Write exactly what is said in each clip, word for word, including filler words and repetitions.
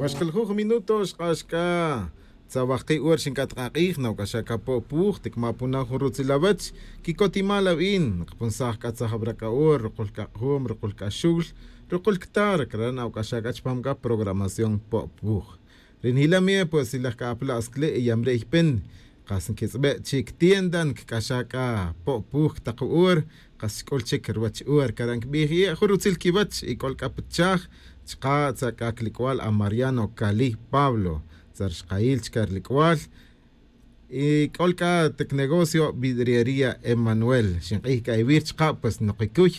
Pues xkiljuj minuto xk'ax k'a tzawaj ki' hora xink'at k'a k'ij nawk'axaj k'a po' puj tikma' puna jun rutzil awech. Kikotimal awin nqapunsaj k'a tzajab' ra k'a hora ruqul k'a q'jum ruqul k'a xul ruqul ktar kara' nawk'axaj k'a chipam k'a programación po' puj. Ri njilam ye pues ilaj k'a apla' skle' y yamre' ypen qas nkitz'be' chik tienda nkik'axaj k'a po' puj taq hora. Qas xk'ul chik ruwach hora kara' nkib'ij ye' jun rutzil kiwach y k'ol k'a pi chaj chaqa' tza k'a kilik'wal a mariano kali pablo tza ri xqayil chka' rilik'wal. Y k'ol k'a tik negocio vidriería emanuel xinq'ij k'a iwir chaqa' pues noqikuy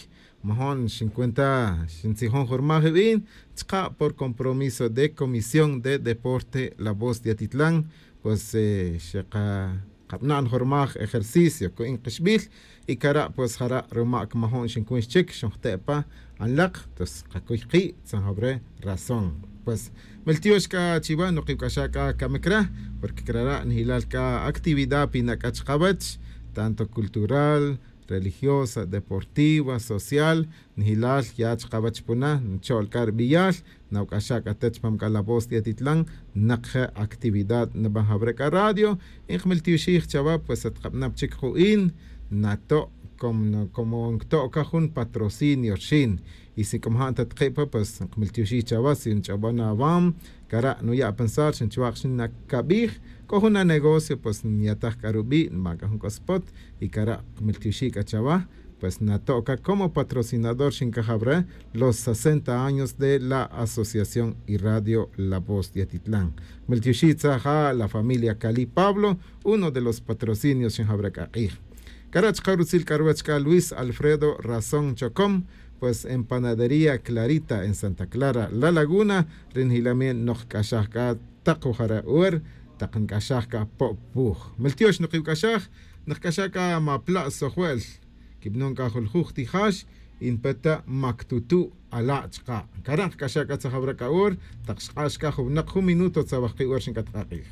majo'n xincuenta xintzijon jun rmaj iwin chaqa' por compromiso de comisión de deporte la voz de atitlan. Pues xeqab'na'n jun rmaj ejercicio ku'in qixb'il y kara' pues jara' ruma' kmajo'n xinkun xchik xinjte' pa anlaq. Tos qakuy ki' tzanjab' re razón. Pues miltiox k'a chiwa' noq iwk'axaj k'a kamik re porque kara' nijilal k'a actividad pina' k'a chaqawech tanto cultural religiosa deportiva social. Nijilal ya chaqawech puna ncho'l k'a rib'iyal nawk'axaj k'a te chipam k'a la voz de atitlan. Naq je' actividad nib'an jawre' k'a radio y nqmiltioxij chawa' pues atqab'nab' chik ju'in nato' como nkto' k'a jun patrocinio rxin y si k'o maja' nta taqi' pa pues nqmiltioxij chawa' si nch'ob'on awam kara' nuya' pensar xinchwaq' xin nakab'ij k'o jun anegocio pues nyataj k'a rub'i' nb'an k'a jun k'o spot y kara' nqmiltioxij k'a chawa'. Pues nato' k'a como patrocinador xinkajaw re los sesenta años de la asociación y radio la voz de atitlan. Miltioxij tzaja' la familia kali pablo uno de los patrocinios xinjaw re k'a q'ij. Kara' chaka' rutzil k'a ruwech k'a luis alfredo razón chocom pues en panadería clarita en santa clara la laguna. Ri njilamien nok'axaj k'a taq wujare' hora taq nk'axaj k'a po' puj. Miltiox noq iwk'axaj nok'axaj k'a mapla' sojwe'l kib'anon k'a juljuj tijax y npe ta maktutu' ala' chaqa' kara' nk'axaj k'a tzajaw re k'a hora taq xq'ax k'a jun winaq jun minuto tzawaj ki' hora xink'at k'a q'ij.